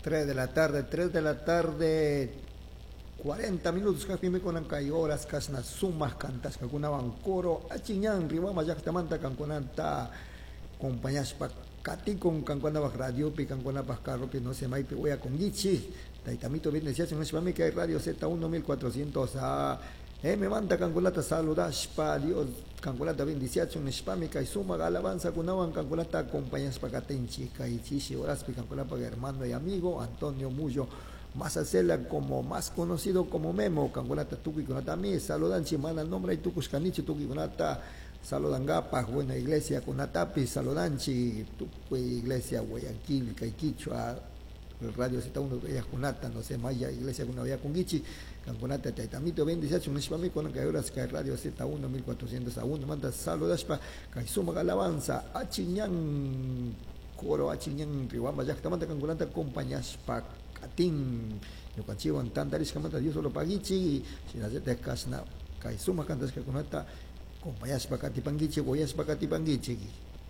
3 de la tarde, 3 de la tarde, 40 minutos kajpimi kunan kay horas kashna sumak kantashkakunawan coro Achiñan Riobamba llaktamanta kankunata acompañashpa katikun kankunapak radiopi, kankunapak carropi, no sé, maypi uyakunkichik. Taytamito bendeciachun nishpami kay Radio Z1 1400 A M manta kankunata saludashpa, Dios kankunata bendiciachun nishpami kay sumak alabanza kunawan kankunata acompañashpa katinchik kay chishi horaspi kankunapak hermano y amigo Antonio Mullo Masacela, como más conocido como Memo, kankunata tukuykunatami saludanchik, mana nombre tukushkanichu tukuykunata saludangapak. Buena iglesia kunatapi saludanchik, tukuy iglesia Guayaquil, kay Quichua, Radio Z1 kunata, no sé, maya iglesia kuna uyakunkichik, kankunata taytamito bendiciachun nishpami kunan kay horas kay Radio Z1 1400 A1 manta saludashpa kay sumak alabanza Achiñan coro Achiñan Riobamba llaktamanta kankunata acompañashpa katin ñukanchikwan tantarishkamanta Dios solo paguichik, shinallatak kashna kay sumak kantashkakunata acompañashpa katipankichik, uyashpa katipankichik.